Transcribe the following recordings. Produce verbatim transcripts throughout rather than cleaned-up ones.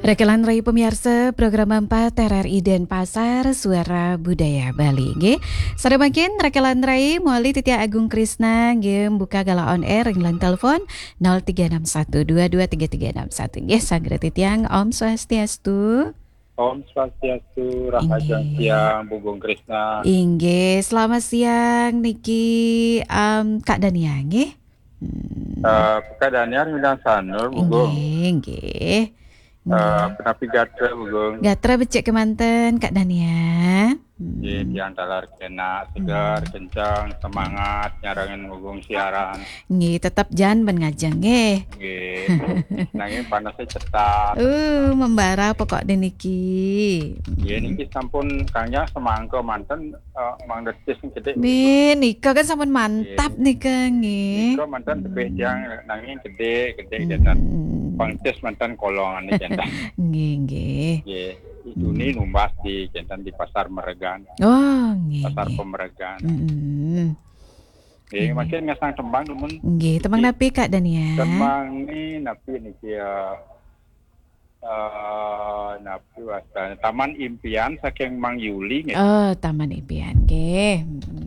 Rekan lan rai pamiarsa program empat R R I Denpasar, Suara Budaya Bali. Nggih. Sareng mangkin rekan lan rai mawali titiang Agung Krisna nggih mbuka galah on air ring line telepon nol tiga enam satu dua dua tiga tiga enam satu. Nggih, sagreng titiang, Om Swastiastu. Om Swastiastu, rahajeng Inggih. Siang, Bu Gung Krisna. Inggih, selamat siang niki, em, Kak Dania nggih. Hmm. Eh, Kak Dania ring Sanur, Bu Gung. Inggih, inggih. Eh, Inggih. Punapi gatra, Bu Gung? Gatra becik kemanten, Kak Dania. Hmm. Nggih, tiang taler kenak, seger, Hmm. kenceng, semangat, nyarengin Bu Gung siaran. Nggih, tetep jan ben ngajeng, nggih. Nggih. Nanging panasnya cetat. Uh, membara pokok niki. Nggih, Hmm. niki sampun kangnya semangka manten, eh, Mang Detis gedhe. Nggih, nika kan sampun mantap Nggih. nika, nggih. Nika manten tebih Hmm. tiang nanging gedhe, gedhe Hmm. jantan. Pangcis manten kolongan niki jantan. Nggih, nggih. Nggih, Juni Hmm. numbas di jantan di Pasar Meregan. Oh, nggih, Pasar nggih. Pemeregan. Mm-mm. Nggih, Nggih. mangkin ngasang tembang, Dumun. Nggih, tembang Nggih. napi, Kak Dania? Tembang ni napi niki, eh, eh, napi wastane? Taman Impian saking Mang Yuli, nggih. Oh, Taman Impian, nggih.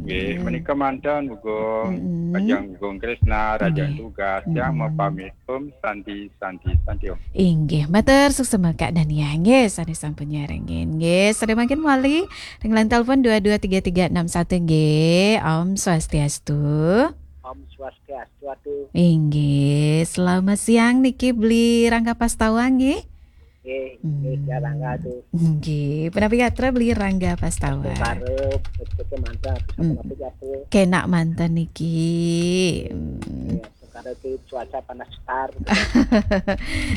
Nggih, Mm-mm. menika manten, Bu Gung. Mm-mm. Rahajeng Bu Gung Krisna, rahajeng Nggih. tugas, yang Mm-mm. mapamit. Om Santi, Santi, Santi, Om. Inggih, matur suksma Kak Dania, nggih, sane sampun nyarengin, nggih. Sareng mangkin mawali ring line telepon dua dua tiga tiga enam satu, nggih. Om Swastiastu. Om Swastiastu, atu. Inggih, selamat siang niki Beli Rangga Pastawa, nggih. Nggih, nggih, Hmm. Rangga, atu. Nggih, punapi gatra Beli Rangga Pastawa? Sare, becik manten, atu, Hmm. sapunapi gatra? Kenak manten niki. Hmm. Nggih, sekarang iki cuaca panas sekar.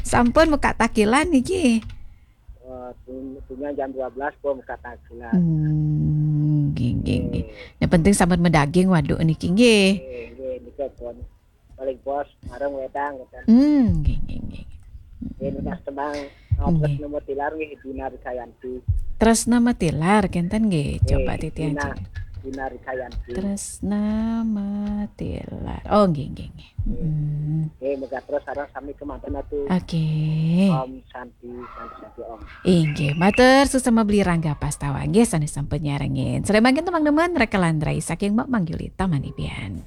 Sampun muka takilan niki? Eh, pun-, punya jam dua belas pun muka takilan. Hmm, nggih, nggih, nggih. Nggih. Yang penting sampun madaging waduk niki, nggih. Nggih, nggih, nika pun. Paling bos, marang wedang, gitu. Hmm, nggih, nggih, nggih. Nggih, nunas tembang, eh, Nggih. Tresna Matilar, nggih, Dina Rikayanti. Tresna Matilar, kenten, nggih. Nggih, coba titiang Dina, cek. Dina Rikayanti. Tresna Matilar. Oh, nggih, nggih, nggih. Nggih. Mm-mm. Nggih, muga terus sareng sami kemanten, atu. Oke. Om Santi, Santi, Santi, Om. Inggih, matur suksma Beli Rangga Pastawa. Nggih, sane sampun nyarengin. Sareng mangkin tembang nemen, rekan lan rai saking Mak Mang Yuli Taman Impian.